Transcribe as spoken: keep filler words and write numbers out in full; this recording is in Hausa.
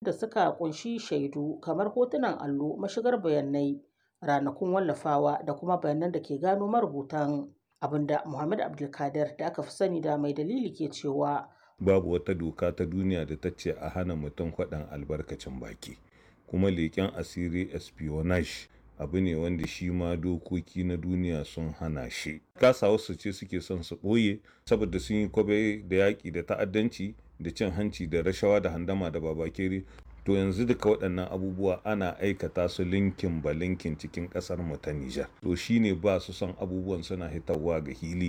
Da suka ƙunshi shaidu kamar hotunan allo, mashigar bayanai, ranakun wallafawa da kuma bayanan da ke gano marubutan, abin da Mohammed Abdulkader da aka fi sani da Mai Dalili ke cewa. Babu wata doka ta duniya da ta ce a hana mutum faɗin albarkacin baki, kuma leƙen asiri, espionage, abu ne wanda shi ma dokoki na duniya sun hana shi. Kasawarsu ce suke son su ɓoye saboda sun yi kwabe da yaƙi da ta'addanci da cin hanci da rashawa da handama da babakere. To yanzu duka waɗannan abubuwa ana aikata su linkin ba linkin cikin ƙasar mu ta Nijar. To shine ba su son abubuwan suna hitawa ga hili.